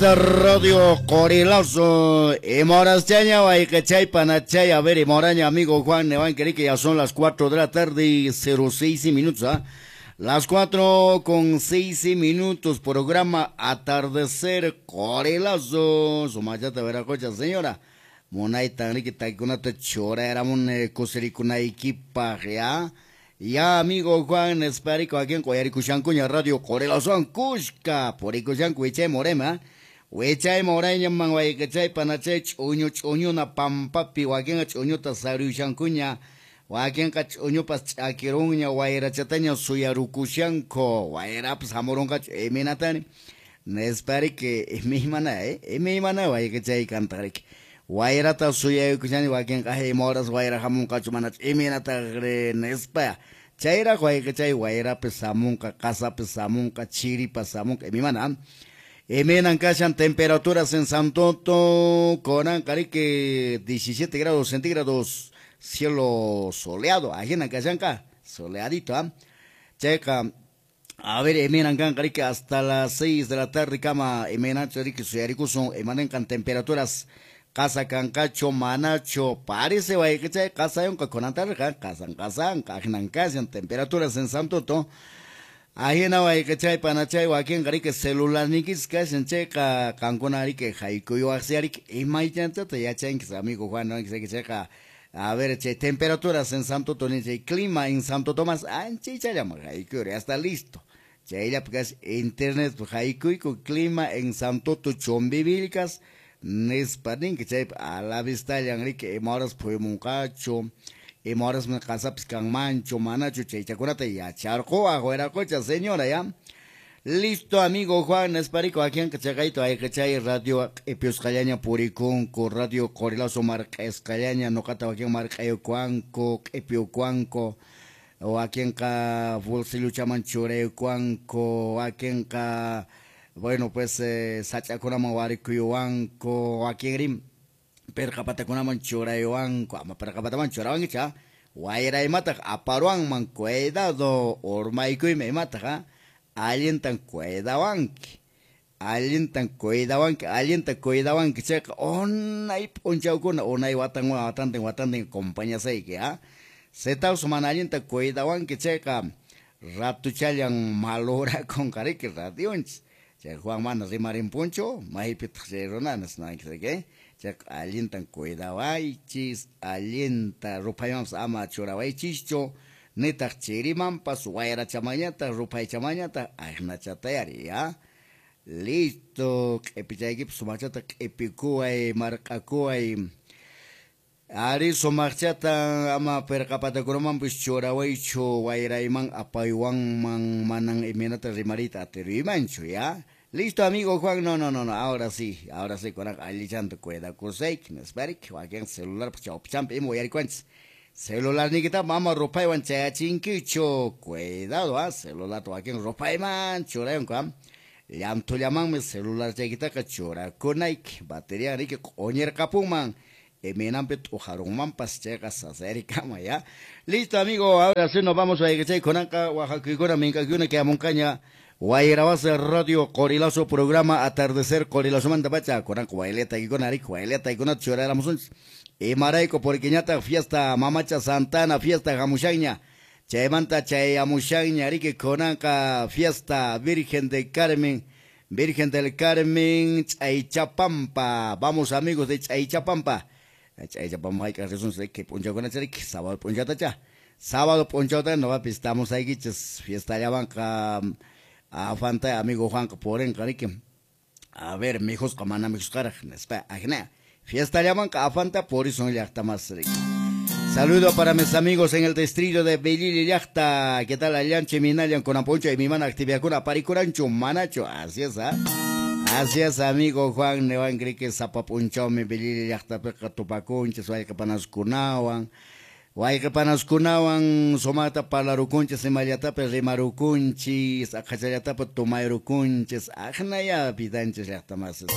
Radio Corilazo y Morasteña, chay panachay, a ver, y Moraña, amigo Juan Nevan, que ya son las 4 de la tarde y 06 minutos, ¿ah? Las 4:06, programa Atardecer Corilazo, Sumayata Veracocha, señora. Munayta, Ricky Taikunata, Chora, Kuserikunaikipa, ya. Ya, amigo Juan, esperico aquí en Coyaricuchancuña, Radio Corilazo, Cusca, Poricuchancu, Ichay Morema. Wichay morañaman waykachay panachay ch'uñu ch'uñuna pampapi wakinqa ch'uñuta saruyushankuña wakinqa ch'uñupas ch'akirunña wayrachataña suyarukushanku wayrapas hamurunqachu imaynatani nispariki imaymana imaymana waykachay kantaqriki wayrata suyaykushani wakinqa ima horas wayra hamunqachu manachu imaynataqri nispa chayraq waykachay wayrapis hamunqa qasapis hamunqa chiripas hamunqa imaymana. Emenan kashan temperaturas en Santoto, Conan Carique 17 grados centígrados, cielo soleado, ajena kashanka, soleadito, ¿ah? Checa, a ver, emenan kan Carique hasta las 6 de la tarde, cama, emenan charique, suyarikusun, emanenkan temperaturas, casa cancacho, manacho, parece, guayquechay, casa yonka, conantarja, casan, casan, ajenan kashan, temperaturas en Santoto. Ajena waykachay panachay wakin qariki celular nikis kashan chayqa qankuna ariki haykuyuwaqsi imaychantata yachankis amigo Juan chayqa a ver chay temperaturas en Santo Tomás chay clima en Santo Tomás anchaychallaman haykuyuri hasta listo chayllapi kash internet haykuyku clima en Santo Chumbivilcas nispa ninki chaypi a la vistallan riki ima horas phuymunqachu ima horas qasapis kanmanchu manachu chaychakunata yacharquwaq wiraqucha señora ya. Listo amigo Juan Esparico aquí en Cachagaito hay chay radio q'ipiusqallaña purikunku radio Corilazo marq'asqallaña nuqata wakin marq'aykuwanku q'ipiyukuwanku wakinqa bolsilluchaman churaykuwanku wakinqa bueno pues sach'akunaman warikuyuwanku wakinri perqapatakunaman churaywanku ama perqapataman churawankicha wayra imataq aparwanman cuidado urmaykuymi imataq allintan cuidawanki allintan cuidawanki allinta cuidawanki chayqa unay p'unchawkuna unay watan watantin watantin compañasayki setaws mana allinta cuidawanki chayqa ratuchallan malorakunqa riki radionchis chay Juan mana rimarinpunchu maypitaq chay runanas nanki chayqa allintan cuidawaychis allinta ruphaymanpas ama churawaychischu nitaq chirimanpas wayrachamañataq ruphaychamañataq aqnachatayari ya. Listo q'ipichaykipas sumaqchata q'ipikuway marq'akuway ari sumaqchata ama pirqapatakunamanpis churawaychu wayrayman apaywanman manan imaynata rimariyta atiruymanchu ya. Listo amigo Juan, no, no, no, no, ahora sí, kunaqa allichanta cuidakusayki nispariki wakin celular chawpichampi ima uyarikuanchis celular nikita mama ruphaywan chayachinkichu cuidado celularta wakin ruphayman churaywanku llanthullamanmi celular chaykitaqa churakunayki bateria riki q'uñirqapunman imaynanpi t'ujarunmanpas chayqa sasarikama ya. Listo amigo, ahora sí nos vamos a chay kunanqa wajakuykuna minkakuykuna quedamunqaña Wayrawasa Radio Corilazo programa Atardecer Corilazo manta pacha kunanqa wayletaykuna riki wayletaykuna churaramusunchis imarayku porque ñataq fiesta Mamacha Santana fiesta hamushanña chaymanta chayamushanña riki kunanqa fiesta Virgen de Carmen Virgen del Carmen Chaychapampa vamos amigos de Chaychapampa Chaychapampa hayk'aq risunchis riki p'unchawkunacha riki sábado p'unchawtacha sábado p'unchawta noqapis estamos aykichis fiestallawanqa afanta amigo Juan purinqa riki a ver mijusqa mana mijusqaraq nispa ajna fiesta llamanqa afanta purisun llaqtamas riki. Saludo para mis amigos en el distrito de Belili llaqta. ¿Qué tal allanche minallan kunapuncha y mi mana actividadkuna parikuranchu manachu? Así es, así es amigo Juan Nevan riki sapapunchawmi Belili llaqtapiqa tupakunchis wayqipanaskunawan wayqipanaskunawan sumaqta parlarukunchis imallatapi rimarukunchis aqhachallatapi tumayrukunchis aqnaya vidanchis llaqtamasis.